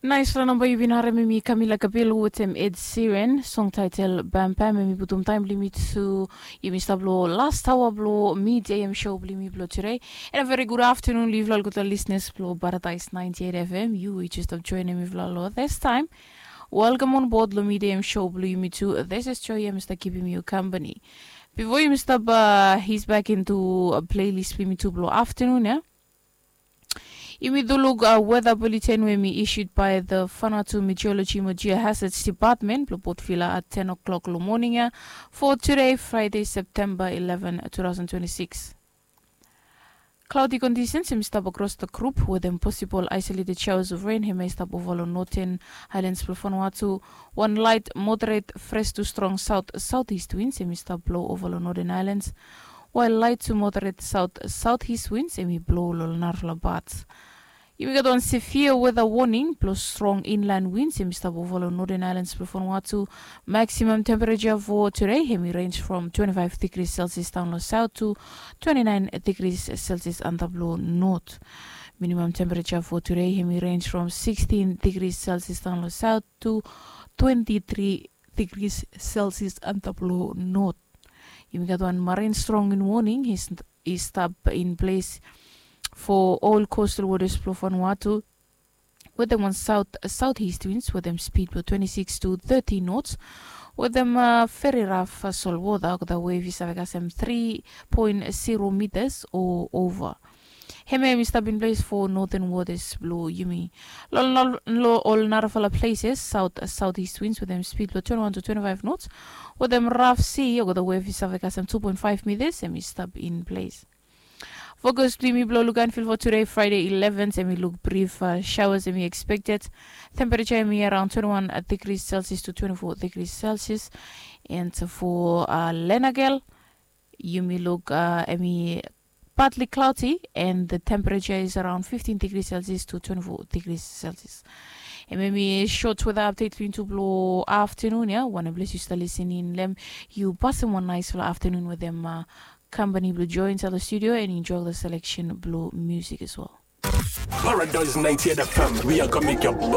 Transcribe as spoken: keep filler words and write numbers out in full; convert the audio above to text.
Naispela namba yu bin harim em i Camila Cabello wetem Ed Sheeran, song title Bam Bam. Em i putum taem blong yumi tu, yumi stap long last aoa blong Mid A M show blong yumi blong tude. And a very good afternoon long yufala olgeta listeners blong Paradise ninety-eight F M. Yu we yu just stap joinim mifala long this time. Welcome on board long Mid A M show blong yumi tu. This is Joy, yumi stap kipim yu company. Bifo yumi stap uh, his back into a playlist blong yumi tu blong afternoon ya. Yumi tu luk uh, weather bulletin we mi issued by the Vanuatu Meteorology mo Geohazards Department blong Port Vila at ten o'clock long morning ya for today, Friday, September eleven, two thousand twenty-six. Cloudy conditions em i stap across the group wetem possible isolated showers of rain. Hemia i stap ova long northern highlands blong Vanuatu. Wan light moderate fresh to strong south southeast winds em i stap blow ova long northern highlands, while light to moderate south southeast winds em i blow long narafala parts. Yumi gat wan severe weather warning blong strong inland winds em i stap ova long northern highlands blong Vanuatu. Maximum temperature for today em i range from twenty-five degrees Celsius down long south to twenty-nine degrees Celsius antap long north. Minimum temperature for today em i range from sixteen degrees Celsius down long south to twenty-three degrees Celsius antap long north. Yumi gat wan marine strong wind warning i stap in place for all coastal waters blong Vanuatu, wetem wan south southeast winds wetem speed blong twenty-six to thirty knots, wetem uh, very rough uh, solwota olgeta wave i save kasem three point zero meters o over. Hemia em i stap in place for northern waters blong yumi. Long ol narafala places, south southeast winds wetem speed blong twenty-one to twenty-five knots, wetem rough sea olgeta wave i save kasem two point five meters em i stap in place. Fokus blong yumi blong lukaen fil for today, Friday eleven, em i luk brief uh, showers em i expected. Temperature em i around twenty-one degrees Celsius to twenty-four degrees Celsius. And for uh, Lenagel, yumi luk uh, em i partly cloudy and the temperature is around fifteen degrees Celsius to twenty-four degrees Celsius. Em em i short weather update blong yumi tu blong afternoon ya. Wanem ples yu stap listening long em, yu pasem wan naispela afternoon wetem uh, company blong Joy inside the studio and enjoy the selection blong music as well. Paradise ninety-eight F M, we are gonna make your body